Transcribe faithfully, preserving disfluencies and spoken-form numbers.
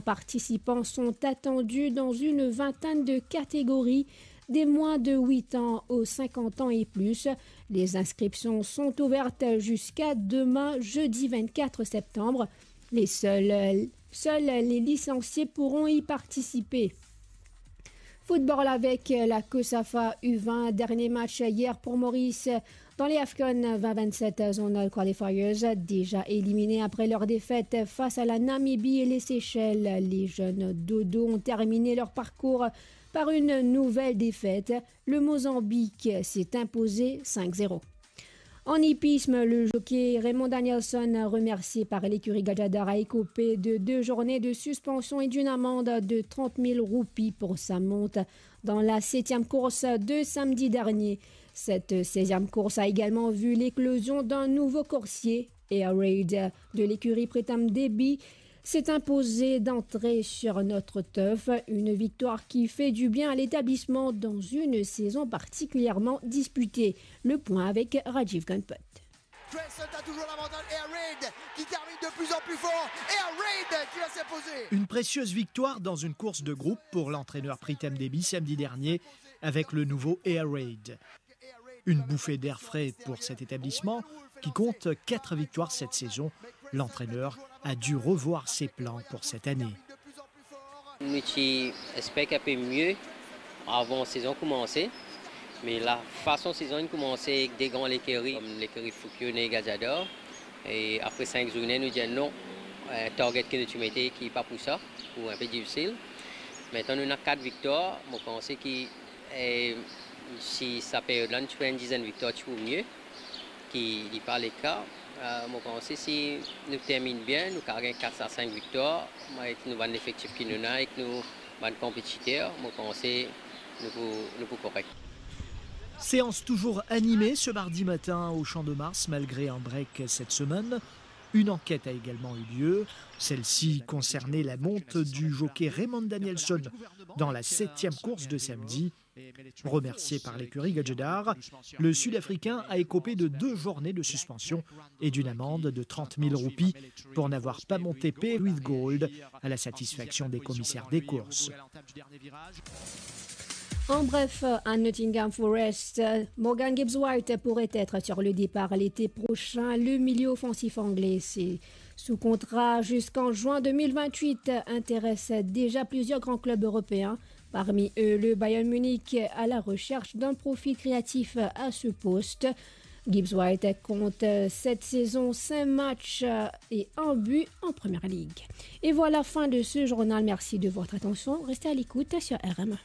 participants sont attendus dans une vingtaine de catégories, des moins de huit ans aux cinquante ans et plus. Les inscriptions sont ouvertes jusqu'à demain, jeudi vingt-quatre septembre. Les seuls, seuls les licenciés pourront y participer. Football avec la COSAFA U vingt, dernier match hier pour Maurice dans les AFCON vingt vingt-sept Zonal Qualifiers, déjà éliminés après leur défaite face à la Namibie et les Seychelles. Les jeunes Dodo ont terminé leur parcours par une nouvelle défaite. Le Mozambique s'est imposé cinq zéro. En hippisme, le jockey Raymond Danielson, remercié par l'écurie Gajadhar, a écopé de deux journées de suspension et d'une amende de trente mille roupies pour sa monte dans la septième course de samedi dernier. Cette seizième course a également vu l'éclosion d'un nouveau coursier, Air Raid de l'écurie Pritam Debi, s'est imposé d'entrée sur notre turf, une victoire qui fait du bien à l'établissement dans une saison particulièrement disputée. Le point avec Rajiv Ganpat. Grayson a toujours l'avantage. Air Raid qui termine de plus en plus fort. Air Raid qui va s'imposer. Une précieuse victoire dans une course de groupe pour l'entraîneur Pritam Debi samedi dernier avec le nouveau Air Raid. Une bouffée d'air frais pour cet établissement qui compte quatre victoires cette saison. L'entraîneur a dû revoir ses plans pour cette année. Nou ti expek inpe mie avan sezon koumanse, me lafason sezon inn koumanse ek de gran lekeri, kom lekeri Fukyo e Gajadhar, e apre sink zourne, nou dir non, eh, target ki nou ti mete ki pa pou sa, pou inpe difisil. Aster nou ena kat viktwar, mo panse ki, eh, si sa period la nou ti fer enn dizenn viktwar, ti pou mie, ki li pa leka. Eh, mo panse si nou terminn bien, nou kav gagn kat a sink viktwar, ek nou bann lefektif ki nou ena, ek nou bann konpetiter, mo panse nou pou, nou pou korek. Séance toujours animée ce mardi matin au Champ de Mars malgré un break cette semaine. Une enquête a également eu lieu. Celle-ci concernait la monte du jockey Raymond Danielson dans la septième course de samedi. Remercié par l'écurie Gajadhar, le Sud-Africain a écopé de deux journées de suspension et d'une amende de trente mille roupies pour n'avoir pas monté Pay with Gold à la satisfaction des commissaires des courses. En bref, à Nottingham Forest, Morgan Gibbs-White pourrait être sur le départ l'été prochain. Le milieu offensif anglais, c'est sous contrat jusqu'en juin deux mille vingt-huit, intéresse déjà plusieurs grands clubs européens, parmi eux le Bayern Munich, à la recherche d'un profil créatif à ce poste. Gibbs-White compte cette saison cinq matchs et un but en Première Ligue. Et voilà, fin de ce journal. Merci de votre attention. Restez à l'écoute sur R M.